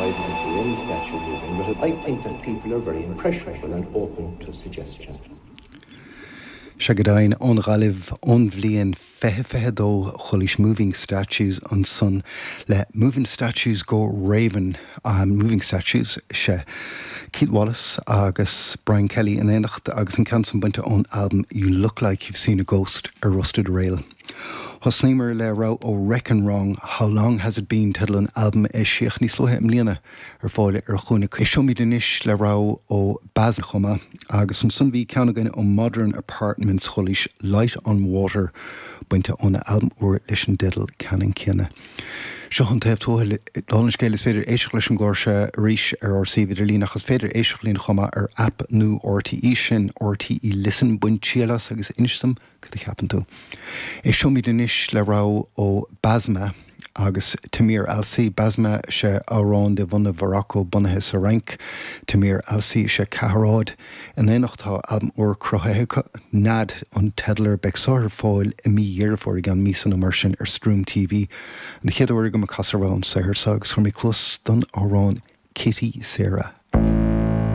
I didn't see any statue moving, but I think that people are very impressionable and open to suggestion. Sea go deimhin, ón Ghaillimh, ón bhliain 2022, chualaís Moving Statues ansan le Moving Statues Go Ravin', Moving Statues, sea, Keith Wallace agus Brian Kelly in éineacht agus an ceann san bainte ón albam You Look Like You've Seen a Ghost ar Rusted Rail. Thosnaíomar le rogha ó Reckon Wrong, How Long Has It Been teideal an albaim a eisíodh níos luaithe i mbliana ar fáil ar Chúinne. Éisteoimid anois le rogha ó Basma chomh maith agus ansan bhí ceann againn ó Modern Apartments, chualaís Light on Water bainte óna albam úr leis an dteideal ceannann céanna. Seo an taobh tuathail. Dála an scéil is féidir éisteacht leis an gclár seo arís ar ár suíomh idirlín ach is féidir éisteacht linn chomh maith ar aip nua RTÉ, sin RTÉ Listen. Bain triail as agus inis dom Cad a cheapann tú? Éisteoimid anois le rogha ó Basma agus Tamir Alsi. Basma is ea amhráin de bhunadh Mhorocco bunaithe sa Fhrainc. Tamir Alsi is ea ceathairéad. In éineacht tá albam úr cruthaithe acu, Nead an teideal air. Beidh seo ar fáil i mí Dheireadh Fómhair, i gceann míosa nó mar sin, ar Stream TV. An chéad uair agam ag casadh rogha ón saothar seo agus chuir mé cluas don amhrán Kitty Sarah.